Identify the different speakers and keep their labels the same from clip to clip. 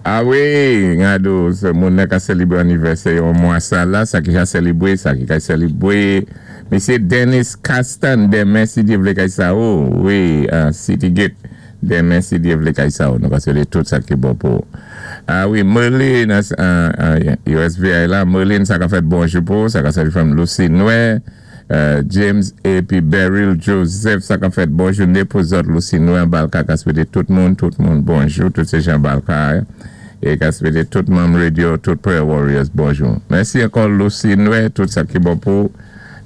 Speaker 1: A wi, gado, moun nan ka sélibwé annivèsè yon mwa sa la, sa ki ka sélibwé, sa ki ka sélibwé. Misyé Dennis Castan, denmen si Dye vlé kay sa ou, wi, City Gate, denmen si Dye vlé kay sa ou. Nou ka swété tout sa ki bon pou. A wi, Merlin, USVI la, Merlin sa ka fèt bonjou pou, sa ka sali fanm Lucy Noé, James épi Beryl Joseph, sa ka fèt bon jouné pou zòt. Lucy Noé Balka ka swété tout moun bonjou, tout sé jan Balka é ka swété tout manm radio, tout Prayer Warriors bonjou. Mèsi ankò Lucy Noé, tout sa ki bon pou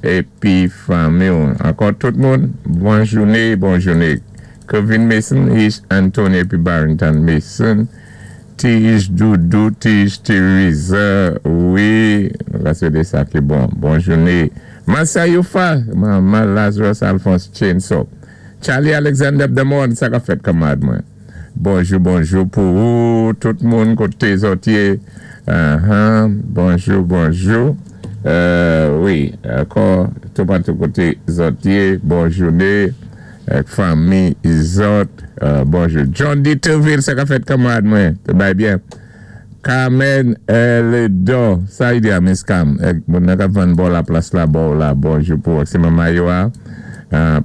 Speaker 1: épi fanmi. Ankò tout moun, bon jouné, bon jouné. Kevin Mason, Ish Anthony épi Barrington Mason, Tige Doudou, Tige Teresa, wi, la swété sa ki bon. Bon jouné. Massa Youfa, Maman Lazarus Alphonse Chainsaw. Charlie Alexander Demond, sa ka fèt kanmarad mwen. Bonjou, bonjou pou ou, tout moun koté zòt yé. Bonjou, bonjou. Wi, ankò, tout patou koté zòt yé, bon jouné. Fanmi zòt, bonjou. John D. Terville, sa ka fèt kanmarad mwen, té bay byen. Carmen Ledon, sa y di a Miss Cam, moun nan ka vann bò la plas la bò la, bonjou pou sé manman yo a.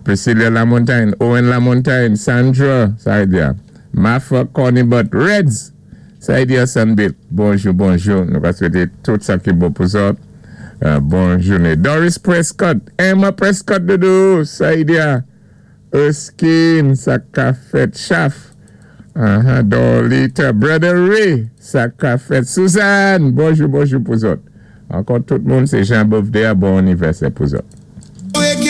Speaker 1: Priscilla Lamontagne, Owen Lamontagne, Sandra, sa y di a. Mafa Connie But Reds, sa y di a Sunbit, bonjou, bonjou. Nou ka swété tout sa ki bon pou zòt. Bon jouné. Doris Prescott, Emma Prescott doudou, sa y di a. Erskine, sa ka fèt Chaf. Dorlita, Brother Ray, sa ka fèt Suzanne, bonjou, bonjou pou zòt. Ankò tout moun, sé Jean birthday a, bon annivèsè pou zòt.